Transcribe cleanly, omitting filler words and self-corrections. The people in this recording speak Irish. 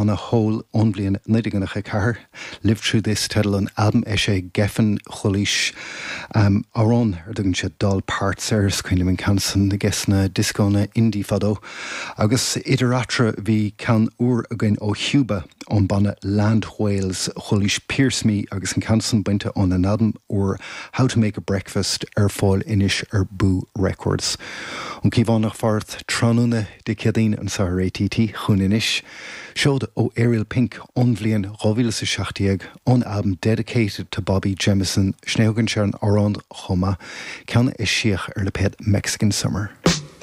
On a Hole ón bhliain 1994, Live Through This teideal an albaim eisithe ag Geffen, Chualaís amhrán ar dtugann siad Doll Parts air, is cuimhin liom an ceann san ages na dioscónna indie fadó. Agus idir eatarthu bhí ceann úr againn ó Chiúba, ón banna Land Whales, chualaís Pierce Me agus an ceann san bainte óna n-albam úr How to Make a Breakfast ar fáil anois ar Boo Records. An Cíobhánach farath tráthnóna Dé Céadaoin anseo ar ATT chugainn anois. Seoid ó Ariel Pink ón bhliain 2017, ón albam Dedicated to Bobby Jemison, sin é a thugann sé ar an amhrán chomh maith, ceann a eisíodh ar lipéad Mexican Summer.